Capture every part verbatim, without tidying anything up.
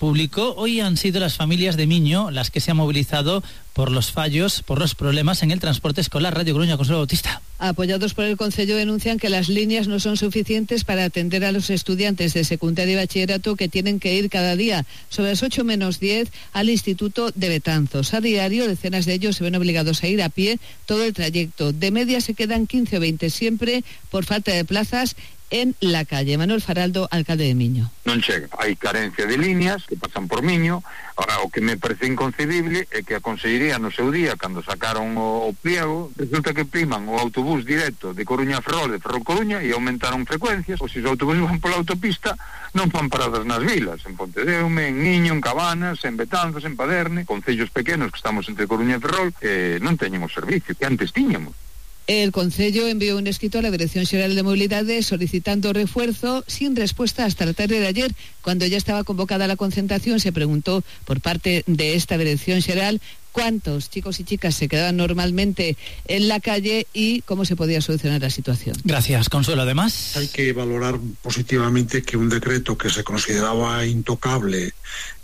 público. Hoy han sido las familias de Miño las que se han movilizado por los fallos, por los problemas en el transporte escolar. Radio Coruña, Consuelo Bautista. Apoyados por el Concello, denuncian que las líneas no son suficientes para atender a los estudiantes de secundaria y bachillerato que tienen que ir cada día sobre las ocho menos diez al Instituto de Betanzos. A diario, decenas de ellos se ven obligados a ir a pie todo el trayecto. De media se quedan quince o veinte siempre por falta de plazas en la calle. Manuel Faraldo, alcalde de Miño. Non chega, hai carencia de líneas que pasan por Miño. Ahora, o que me parece inconcebible é que a Consellería no seu día, cando sacaron o, o pliego, resulta que priman o autobús directo de Coruña a Ferrol, de Ferrol Coruña, e aumentaron frecuencias, ou se os autobuses van pola autopista, non fan paradas nas vilas, en Pontedeume, en Miño, en Cabanas, en Betanzos, en Paderne, concellos pequenos que estamos entre Coruña e Ferrol, que non teñen o servicio que antes tiñamos. El Concello envió un escrito a la Dirección Xeral de Movilidades solicitando refuerzo, sin respuesta hasta la tarde de ayer. Cuando ya estaba convocada la concentración, se preguntó por parte de esta Dirección Xeral cuántos chicos y chicas se quedaban normalmente en la calle y cómo se podía solucionar la situación. Gracias, Consuelo. Además, hay que valorar positivamente que un decreto que se consideraba intocable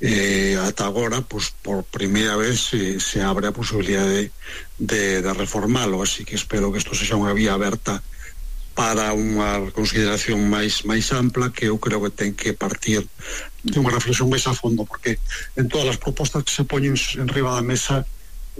eh, hasta agora, pues por primera vez se, se abre a posibilidad de, de, de reformarlo, así que espero que isto sexa unha vía aberta para unha consideración máis máis ampla, que eu creo que ten que partir de unha reflexión máis a fondo, porque en todas as propostas que se poñen en riba da mesa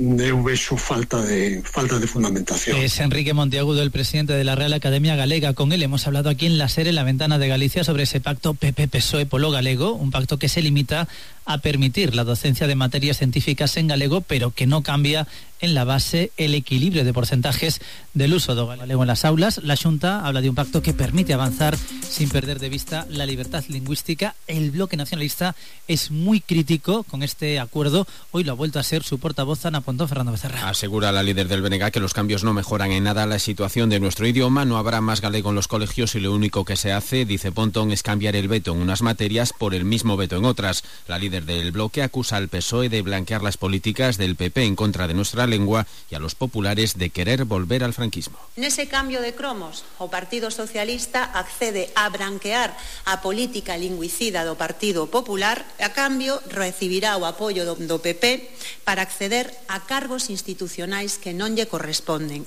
eu vexo falta de falta de fundamentación. Es Enrique Monteagudo, el presidente de la Real Academia Galega. Con él hemos hablado aquí en la SER, en la Ventana de Galicia, sobre ese pacto P P P S O E polo galego, un pacto que se limita a permitir la docencia de materias científicas en galego, pero que no cambia en la base el equilibrio de porcentajes del uso do galego en las aulas. La Xunta habla de un pacto que permite avanzar sin perder de vista la libertad lingüística. El bloque nacionalista es muy crítico con este acuerdo. Hoy lo ha vuelto a ser su portavoz, Ana Pontón, Fernando Becerra. Asegura la líder del B N G que los cambios no mejoran en nada la situación de nuestro idioma. No habrá más galego en los colegios y lo único que se hace, dice Pontón, es cambiar el veto en unas materias por el mismo veto en otras. La líder del bloque acusa al P S O E de blanquear las políticas del P P en contra de nuestra lengua y a los populares de querer volver al franquismo. Nese cambio de cromos, o Partido Socialista accede a branquear a política lingüicida do Partido Popular, a cambio recibirá o apoio do, do P P para acceder a cargos institucionais que non lle corresponden.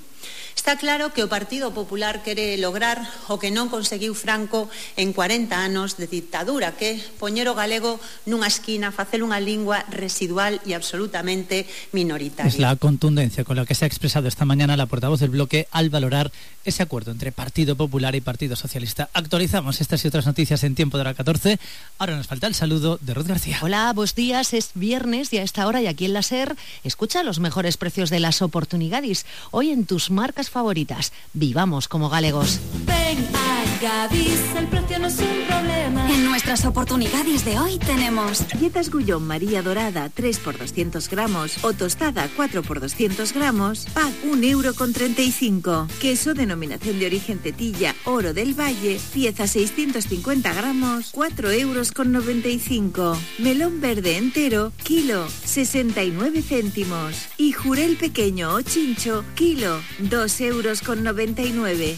Está claro que o Partido Popular quere lograr o que non conseguiu Franco en cuarenta anos de dictadura, que poñer o galego nunha esquina, facer unha lingua residual e absolutamente minoritaria. Es la contundencia con la que se ha expresado esta mañana la portavoz del bloque al valorar ese acuerdo entre Partido Popular y Partido Socialista. Actualizamos estas y otras noticias en tiempo de hora catorce. Ahora nos falta el saludo de Ruth García. Hola, buenos días. Es viernes y a esta hora y aquí en la SER escucha los mejores precios de las oportunidades. Hoy en tus marcas favoritas. Vivamos como galegos. Ven a Gadis, el precio no es un problema. En nuestras oportunidades de hoy tenemos galletas Gullón María Dorada tres por doscientos gramos o tostada cuatro por doscientos gramos, pack un euro con treinta y cinco. Queso denominación de origen Tetilla Oro del Valle, pieza seiscientos cincuenta gramos, cuatro euros con noventa y cinco. Melón verde entero, kilo, sesenta y nueve céntimos. Y jurel pequeño o chincho, kilo, dos euros con noventa y nueve.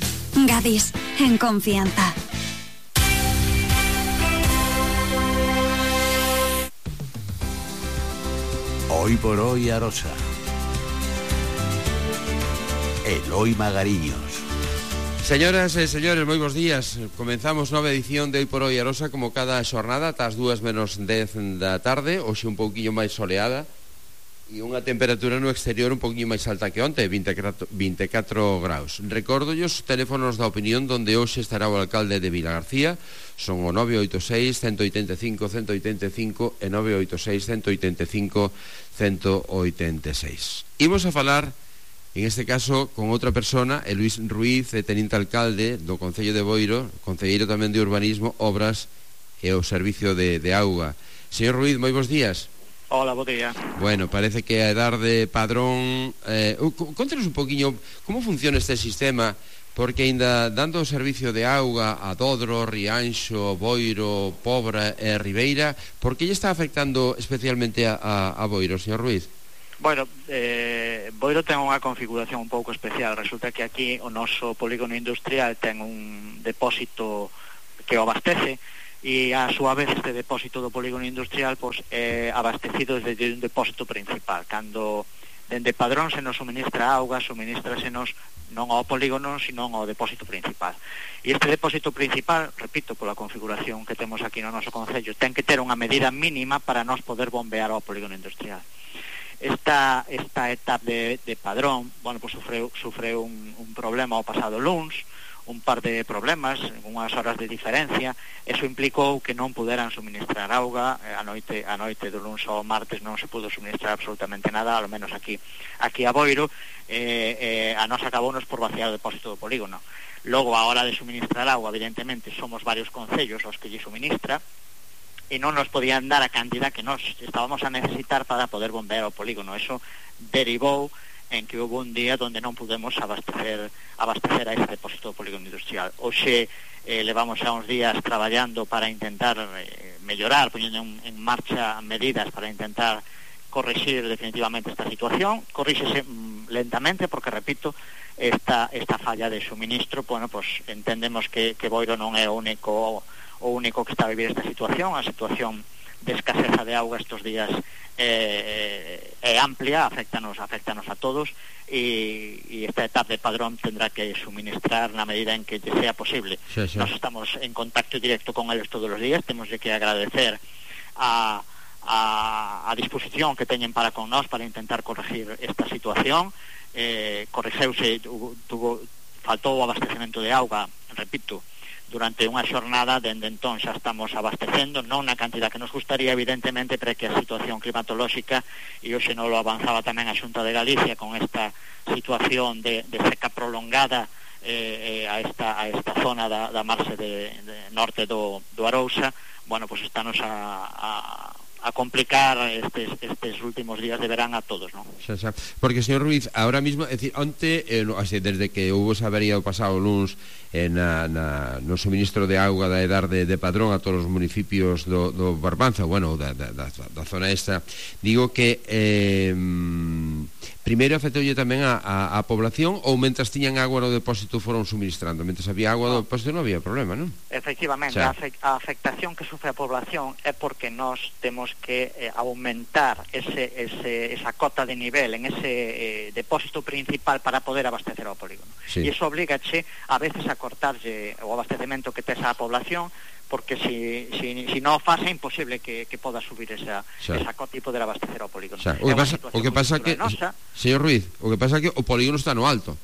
Gadis, en confianza. Hoy por hoy Arosa. Eloi Magariños. Señoras e señores, moi bons días. Comenzamos nova edición de Hoy por Hoy Arosa, como cada xornada, ata as dúas menos dez da tarde. Hoxe un pouquiño máis soleada e unha temperatura no exterior un pouquinho máis alta que onte, vinte e catro graus. Recórdolle os teléfonos da opinión donde hoxe estará o alcalde de Vilagarcía. Son o nove oito seis, uno oito cinco, uno oito cinco e nove oito seis, uno oito cinco, uno oito seis. Imos a falar, en este caso, con outra persona, el Luis Ruiz, teniente alcalde do Concello de Boiro, concelleiro tamén de Urbanismo, Obras e o Servicio de, de Auga. Señor Ruiz, moi bons días. Hola, bo día. Bueno, parece que a edad de padrón... Eh, contanos un poquinho como funciona este sistema, porque ainda dando o servicio de auga a Dodro, Rianxo, Boiro, Pobra e Ribeira, por que lle está afectando especialmente a, a, a Boiro, señor Ruiz? Bueno, eh, Boiro ten unha configuración un pouco especial. Resulta que aquí o noso polígono industrial ten un depósito que o abastece, e a súa vez este depósito do polígono industrial pois, é abastecido desde un depósito principal. Cando dende Padrón se nos suministra auga, suministrasenos non ao polígono, sino ao depósito principal. E este depósito principal, repito, pola configuración que temos aquí no noso concello, ten que ter unha medida mínima para nos poder bombear ao polígono industrial. Esta, esta etapa de, de Padrón, bueno, pues sufreu, sufreu un, un problema o pasado luns, un par de problemas, unhas horas de diferencia. Eso implicou que non puderan suministrar auga a noite, a noite do luns ao martes non se pudo suministrar absolutamente nada, ao menos aquí aquí a Boiro, eh, eh, a nos acabounos por vaciar o depósito do polígono. Logo, a hora de suministrar auga, evidentemente, somos varios concellos os que lle suministra, e non nos podían dar a cantidad que nos estábamos a necesitar para poder bombear o polígono. Eso derivou en que houve un día donde non pudemos abastecer abastecer a ese depósito do polígono industrial. Hoxe eh, levamos xa uns días traballando para intentar eh, mellorar, poñendo en, en marcha medidas para intentar corrixir definitivamente esta situación. Corríxese mm, lentamente porque, repito, esta, esta falla de suministro, bueno, pues entendemos que, que Boiro non é o único o único que está a vivir esta situación. A situación de escaseza de auga estos días eh, é amplia, afectanos, afectanos a todos, e, e esta etapa de Padrón tendrá que suministrar na medida en que sea posible. Sí, sí. Nos estamos en contacto directo con eles todos os días, temos que agradecer a, a, a disposición que teñen para con nós para intentar corregir esta situación. Eh, corrixeuse, tuvo, faltou o abastecemento de auga, repito, durante unha xornada. Dende entón xa estamos abastecendo, non na cantidad que nos gustaría, evidentemente, pero que a situación climatolóxica, e hoxe non lo avanzaba tamén a Xunta de Galicia con esta situación de, de seca prolongada eh, a, esta, a esta zona da, da marxe de, de norte do, do Arousa, bueno, pues estános a, a a complicar estes, estes últimos días de verán a todos, ¿no? Xa, xa. Porque, señor Ruiz, ahora mismo, é dicir, onte, eh, no, así, desde que houve esa avería do pasado luns eh, na, na, no suministro de auga da Edar de, de Padrón a todos os municipios do, do Barbanza, bueno, da, da, da, da zona esta, digo que eh, primeiro afectoulle tamén a, a, a población, ou mentras tiñan agua no depósito foron suministrando? Mentras había agua no depósito non había problema, non? Efectivamente, a, a afectación que sufre a población é porque nós temos que eh, aumentar ese, ese, esa cota de nivel en ese eh, depósito principal para poder abastecer ao polígono. Sí. E iso obligache a veces a cortarlle o abastecemento que tes á población, porque si, si, si non o faz é imposible que, que poda subir esa, esa cota e poder abastecer ao polígono. O que pasa, o que pasa que, señor Ruiz, o que pasa que o polígono está no alto.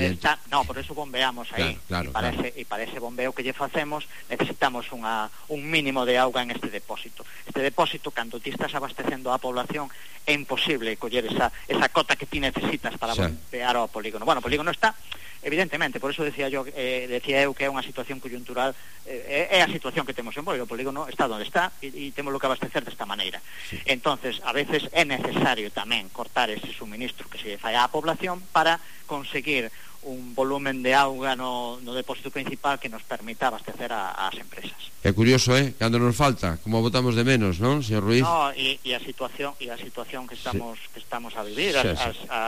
Está, no, por eso bombeamos aí, claro, claro, e, para claro. ese, e para ese bombeo que lle facemos necesitamos unha, un mínimo de auga en este depósito. Este depósito, cando ti estás abastecendo a población, é imposible coller esa, esa cota que ti necesitas para sí. bombear ao polígono. Bueno, o polígono está, evidentemente, por eso decía yo, eh, decía eu que é unha situación coyuntural, eh, é a situación que temos en Boiro. O polígono está onde está e, e temos que abastecer desta maneira. Sí. Entonces, a veces é necesario tamén cortar ese suministro que se fai á población para conseguir un volumen de auga no, no depósito principal que nos permita abastecer a, as empresas. É curioso, eh? Cando nos falta, como botamos de menos, non, señor Ruiz? No, e, e a situación e a situación que estamos sí. que estamos a vivir, sí, as, sí. As, a,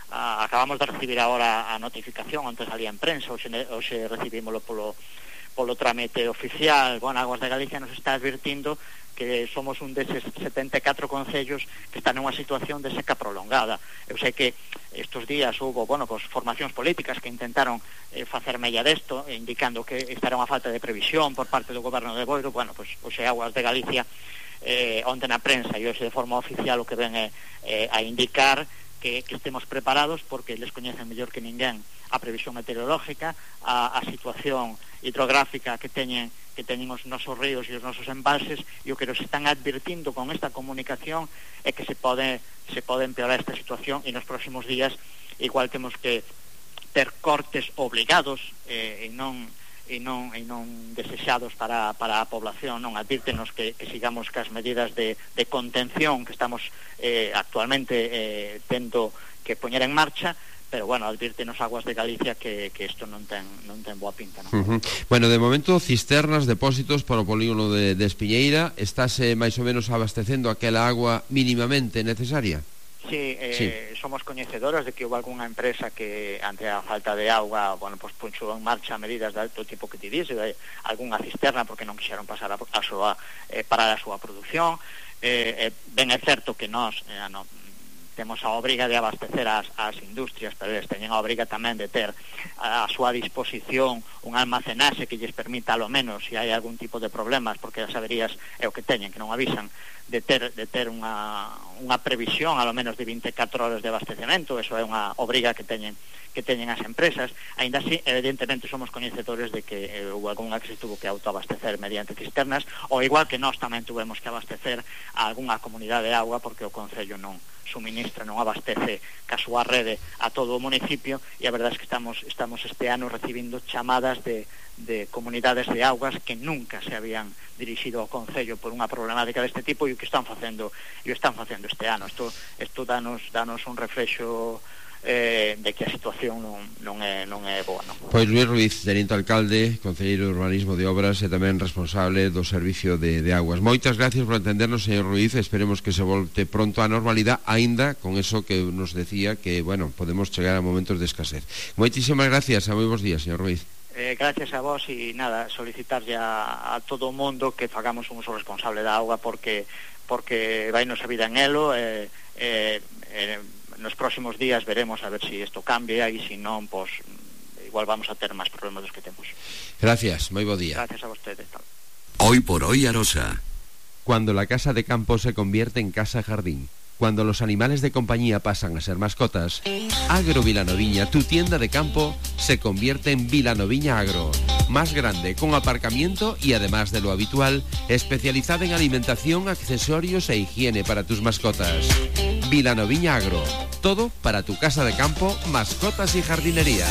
a, acabamos de recibir agora a notificación, antes salía en prensa, hoxe, hoxe recibímoslo polo polo trámite oficial. Bueno, Aguas de Galicia nos está advirtindo que somos un deses setenta e catro concellos que están nunha situación de seca prolongada. Eu sei que estes días houve, bueno, pues, formacións políticas que intentaron eh, facer mella desto, indicando que esta era unha falta de previsión por parte do goberno de Boiro. Bueno, pues, hoxe Aguas de Galicia eh, onte na prensa e hoxe de forma oficial o que ven é eh, a indicar que, que estemos preparados, porque les coñecen mellor que ninguén a previsión meteorológica, a, a situación hidrográfica que teñen que teñen os nosos ríos e os nosos embalses, e o que nos están advirtindo con esta comunicación é que se pode se pode empeorar esta situación, e nos próximos días igual temos que ter cortes obligados eh, e non e non e non desexados para, para a población. Non advírtenos que, que sigamos cas medidas de, de contención que estamos eh, actualmente eh, tendo que poñer en marcha, pero bueno, advírtenos Aguas de Galicia que, que isto non ten, non ten boa pinta, non? Uh-huh. Bueno, de momento, cisternas, depósitos para o polígono de, de Espiñeira, estáse máis ou menos abastecendo aquela agua mínimamente necesaria? Sí, eh, Sí. somos coñecedoras de que houve algunha empresa que ante a falta de auga, bueno, pues punxou en marcha medidas do tipo que te dice, de algunha cisterna porque non quixeron pasar a, a súa, eh, parar a súa produción. Eh, eh, ben é certo que nós eh, no, temos a obriga de abastecer as, as industrias, pero eles teñen a obriga tamén de ter a, a súa disposición un almacenaxe que lles permita, alo menos, se hai algún tipo de problemas, porque as averías é o que teñen, que non avisan, de ter, de ter unha, unha previsión, alo menos, de vinte e catro horas de abastecemento. Eso é unha obriga que teñen que teñen as empresas. Aínda así, evidentemente, somos coñecedores de que eh, houve algunha que se tuvo que autoabastecer mediante cisternas, ou igual que nós tamén tuvemos que abastecer a algunha comunidade de auga, porque o Concello non suministra, non abastece ca súa rede a todo o municipio, e a verdade é que estamos, estamos este ano recibindo chamadas de, de comunidades de augas que nunca se habían dirixido ao Concello por unha problemática deste tipo, e o que están facendo e o están facendo este ano. Isto, isto danos, danos un reflexo eh, de que a situación non, non, é, non é boa, non? Pois Luís Ruiz, teniente alcalde, concelleiro de Urbanismo de Obras e tamén responsable do Servicio de, de Aguas. Moitas gracias por entendernos, señor Ruiz. Esperemos que se volte pronto á normalidade, aínda con eso que nos decía, que, bueno, podemos chegar a momentos de escasez. Moitísimas gracias, a moi bons días, señor Ruiz. Eh, gracias a vos, e nada, solicitarlle a, a todo o mundo que fagamos un uso responsable da auga, porque porque vai nos a vida en elo. eh, eh, eh, nos próximos días veremos a ver si isto cambia, e se non, pois igual vamos a ter máis problemas dos que temos. Gracias, moi bo día. Gracias a vostedes. Hoy por hoy Arosa. Cuando la casa de campo se convierte en casa jardín, cuando los animales de compañía pasan a ser mascotas, Agro Vilanoviña, tu tienda de campo, se convierte en Vilanoviña Agro. Más grande, con aparcamiento y, además de lo habitual, especializada en alimentación, accesorios e higiene para tus mascotas. Vilanoviña Agro. Todo para tu casa de campo, mascotas y jardinería.